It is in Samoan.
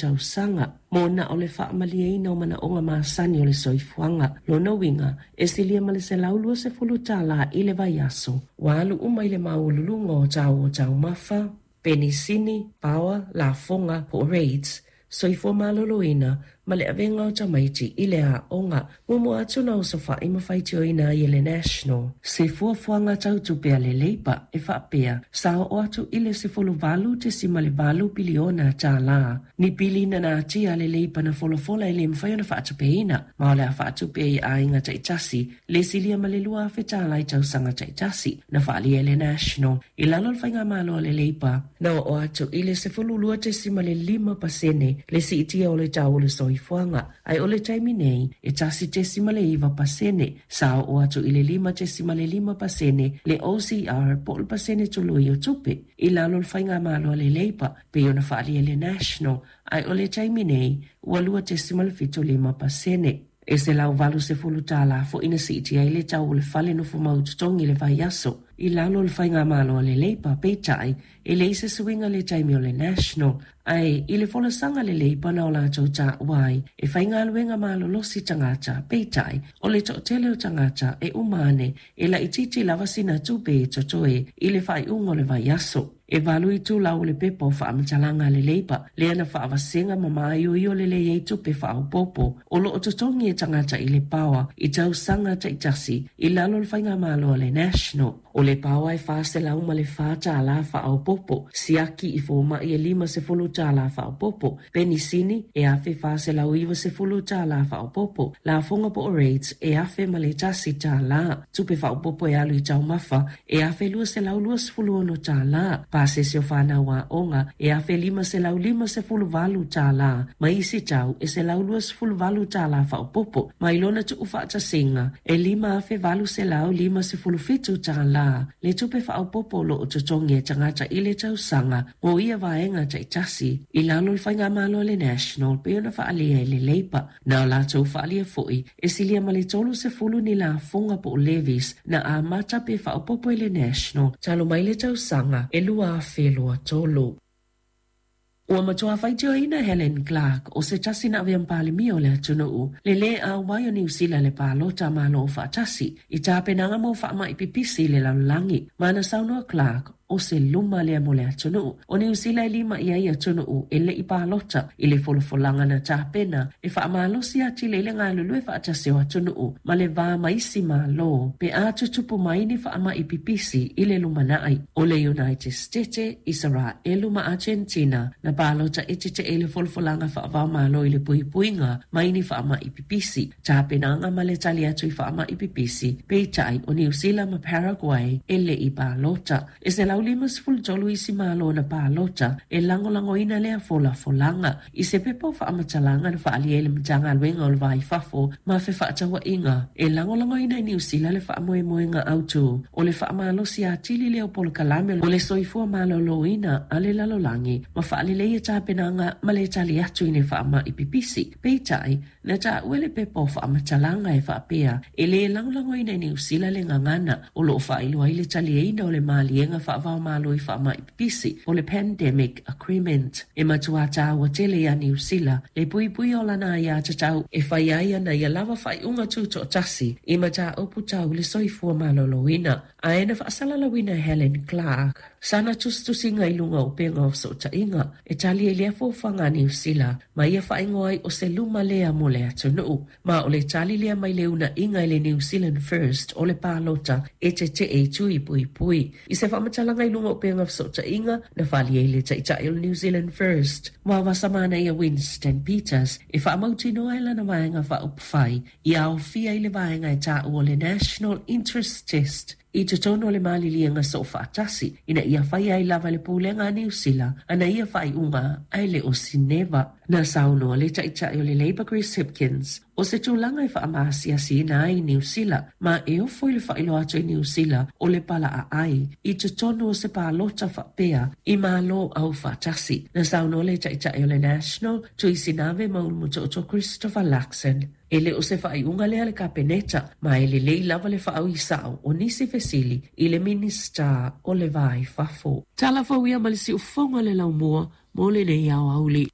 Tausaga, mo na o le faamalieina o manaoga masani o le soifuaga. Lona uiga, e silia ma le $120 i le vaiaso, ua alu uma i le maualuluga o tau o taumafa, penisini, paoa, lafoga po o rates, soifua maloloina ma le avega o tamaiti i le aoga. Muamua atu na osofai ma faitioina ai e le National se fuafuaga tau tupe a le Labour e faapea, sa oo atu i le $18.8 piliona tālā ni pili na natia a le Labour na folafola e le mafai ona faatupeina, ma o le a faatupe ai i aiga taitasi le silia ma le $2,000 i tausaga taitasi. Na faaalia e le National i lalo o le faigamalo a le Labour, na oo atu i le 12.5% le siitia o le tau o le soifuaga, ae o le taimi nei e 1.9%. Sa oo atu i le 5.5% le OCR po o le pasene tului o tupe i lalo o le faigamalo a le Labour, pei ona faaalia e le National, ae o le taimi nei ua 2.75%. E $180 foi na siitia ai le tau o le fale nofomau totogi i le vaiaso i lalo o le faigamalo a le Labour, peitai e leai se suiga i le taimi o le National, ae i le folasaga a le Labour na o latou taua ai e faigaluega malolosi tagata, peitai o le toatele o tagata e uma ane e laitiiti lava sina tupe e totoe i le faaiuga o le vaiaso. E valu itulau o le pepa o faamatalaga a le Labour lea na faavasega ma maioio lelei ai tupe faaopoopo o lo o totogi e tagata i le paoa i tausaga taitasi i lalo o le faigamalo a le National. O le paoa e $404 faaopoopo, siaki i fomai e $50 faaopoopo, penisini e $1,490 faaopoopo, lafoga po o rates e $1,001, tupe faaopoopo e alu i taumafa e $1,226, pasese o fanau aoga e $1,558 ma isi tau e $128 faaopoopo, mai lona tuufaatasiga e $5,857 le tupe faaopoopo o lo o totogi e tagata i le tausaga mo ia vaega taitasi i lalo o le faigamalo a le National, pei ona faaalia e le Labour. Na o latou faaalia foi e silia ma le 30 ni lafoga po o levies na amata pe faaopoopo e le National talu mai le tausaga e 2023. Ua matua faitioina e Helen Clark, o se tasi na avea ma Palemia o le atunuu, le lē auai o Niu Sila i le palota a Malo Aufaatasi i tapenaga mo faamai pipisi i le lalolagi. Ma na saunoa Clark, o se luma lea mo le atunuu o Niu Sila e lima i ai atunuu e le i palota i le folafolaga na tapena e faamalosi atili ai le galulue faatasi o atunuu ma le va ma isi Malo pe a tutupu mai ni faamai pipisi i le lumanai. O le United Setete, Isaraelu ma Agentina na palota e tetee i le folafolaga faava-o-Malo i le puipuiga mai ni faamai pipisi, tapenaga ma le tali atu i faamai pipisi, peitai o Niu Sila ma Paraguay e le i palota. E 153 isi Malo na palota e lagolagoina lea folafolaga. I se pepa o faamatalaga na faaalia ai le Matagaluega o le Va i Fafo ma Fefaatauaiga, e lagolagoina e Niu Sila le faamoemoega autu o le faamalosi atili lea o polokalame o le soifua maloloina a le lalolagi ma faaleleia tapenaga ma le tali atu i ni faamai pipisi. Peitai, na taua le pepa o faamatalaga e faapea, e lē lagolagoina e Niu Sila le gagana o lo o faailoa ai le taliaina o le maliega faava-o-Malo i faamai pipisi po o le Pandemic Agreement. E matua tāua tele iā Niu Sila le puipuia o lana aiatatau e fai ai ana ia lava faaiuga tutoatasi i mataupu tau le soifua maloloina. Ae na faasalalauina e Helen Clark sana tusitusiga i luga o upega o fesootaiga e tali ai lea fuafuaga a Niu Sila ma ia faaigoa ai o se luma lea mo le atunuu. Ma o le tali lea mai le uuna'iga i le New Zealand First o le palota e tete'e i tui puipui. I se faamatalaga i luga o upega fesootaiga, na faaalia ai le Taitai o le New Zealand First, Vaovasamanaia Winston Peters, e faamautinoa e lana vaega faaupufai ia aofia i le vaega e taua o le National Interest Test i totonu o le maliliega soofaatasi ina ia faia ai lava e le Pulega a Niu Sila ana ia faaiuga ae le o Sineva. Na saunoa le Taitai o le Labour Chris Hipkins, o se tulaga e faamaasiasiina ai Niu Sila ma e ofo i le faailoa atu i Niu Sila o le palaaai i totonu o se palota faapea i Malo Aufaatasi. Na saunoa le Taitai o le National, Tuisinave Maulumutoto Christopher Luxon, e le o se faaiuga lea a le Kapeneta, ma e lelei lava le faaui sao o nisi fesili i le Minisita o le Va i Fafo. Tala fou ia ma le siufofoga o le laumua mo lenei aoauli.